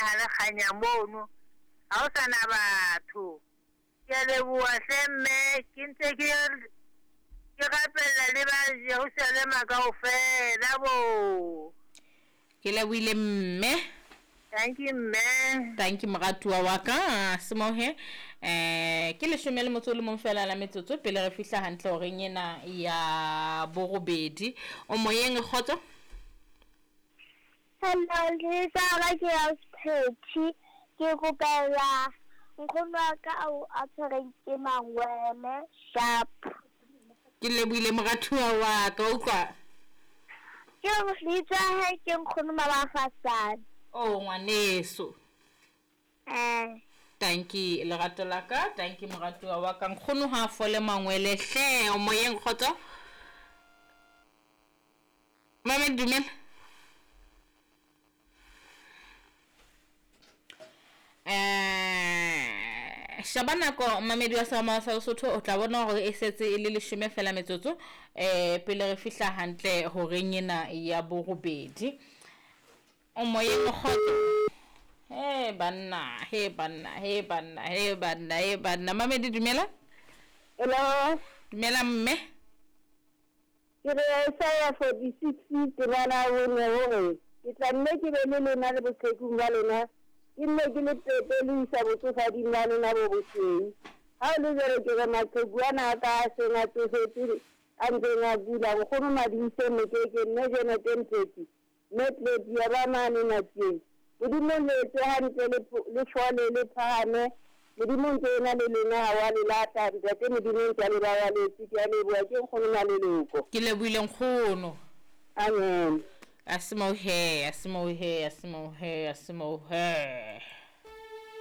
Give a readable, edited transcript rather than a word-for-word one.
ha le kganya mono. Ha ho sa na batho. Ke a leboha hle mme, ke ntse ke ke rapella le ba Jerusalema kaofela bo. Ke lebohile mme. Thank you mme. Thank you moratuwa wa ka Semohe. Eh ke leshome le motso o le mong fela la metsotso pele re fihla hantle horeng ena ya borobedi. O moyeng kgotso? Hello, lebitso la ka ke Ausi Ke kopela nkgono wa ka ao a tshwereng ke mangwele sharp. Ke lebohile moratuwa wa ka utlwa. Ke lebitso la hae ke nkgono Mabafasane. Oh ngwaneso. Eh. Tanki lerato la ka, tanki moratuwa wa ka. Nkgono ha a fole mangwele hle, o moyeng kgotso. Mame dumela. Eh shaba nako mamedi wa sama sa Lesotho o tla bona hore e setse e le leshome fela metsotso eh pele re fihla hantle horeng ena ya borobedi. O moyeng kgotso. He banna, he banna, he banna, he banna, he banna. Mamedi dumela. Hello. Dumela mme. Ke re Isaiah 46 temana ya bone o re, Ke tla nne ke be le lona le boqhekung ba lona, ke nne ke le pepe le ho isa botsofading ba lona bo bosweu. Ha ho le jwalo, ke re maqheku ana a ka a seng a tsofetse a ntseng a kula, Nkgono Madise Mokeke, Mme Jenete Mphethi, Mme Tlepi ya ba mane Matsieng. Modimo le etse hantle le, le fole le phahame. Modimo ntse ena le lona ha wa le lahla. Ntate Modimo ntse a le babaletse. Ke a leboha ke nkgono Maleloko. Ke lebohile nkgono. Amen. A se moo he, a se moo he, a se moo he, a se moo he.